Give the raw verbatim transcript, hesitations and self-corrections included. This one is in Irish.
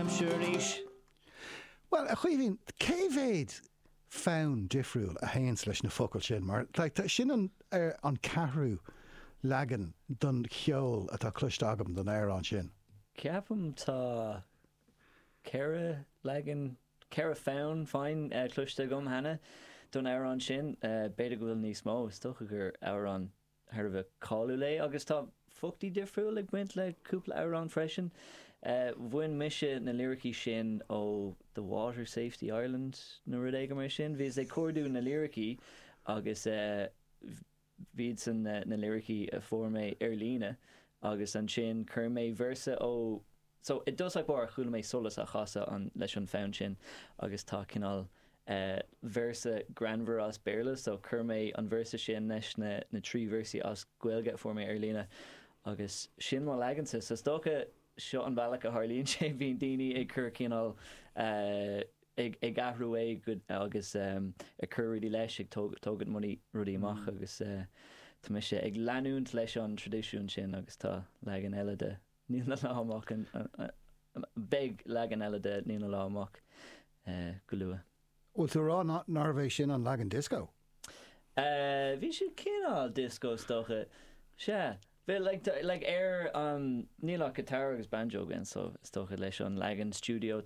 aimsir arís. Well, a Chaoimhín, cé mhéad fonn difriúil a théanns leis na focail sin mar like, sin an er, an ceathrú leagan don cheol atá cloiste agam don amhrán sin. Ceapaim tá ceithre leagan ceithre fonn fine uh, cloiste agam cheana don amhrán sin uh, b'fhéidir go bhfuil níos mó is dócha gur amhrán thar a bheith cáiliúil é agus tá foclaí difriúil ag baint le cúpla amhrán freisin. Uh, bhain mise na liricí sin ó The Water Safety Ireland nó rud éigin mar sin, bhíos ag cuardú na liricí agus uh, b'iad san na, na liricí a fuair mé ar líne agus ansin chuir mé véarsa ó so i dtosach báire chuala mé solas á chasadh an leis an fonn sin agus tá cineál uh, véarsa greannmhar as Béarla so chuir mé an véarsa sin leis na, na trí véarsaí as Gaeilge a fuair mé ar líne agus sin mo leagansa so is dócha seo an bealach a tharlaíonn sé bhíonn daoine ag cur cineál uh, ag ag athrú é go agus um, ag cur rudaí leis ag tógaint money rudaí amach mm. agus uh, tá mise ag leanúint leis an traidisiún sin agus tá leagan eile de Níl na Lá Amach beidh leagan eile de Níl na Lá Amach uh, go luath. Bhfuil tú rá nárbh é sin an leagan disco? Uh, bhí sé cineál disco is dócha. Sea, Bhí like, like ar um, níl ach guitar agus banjo againn so is dócha leis an leagan studio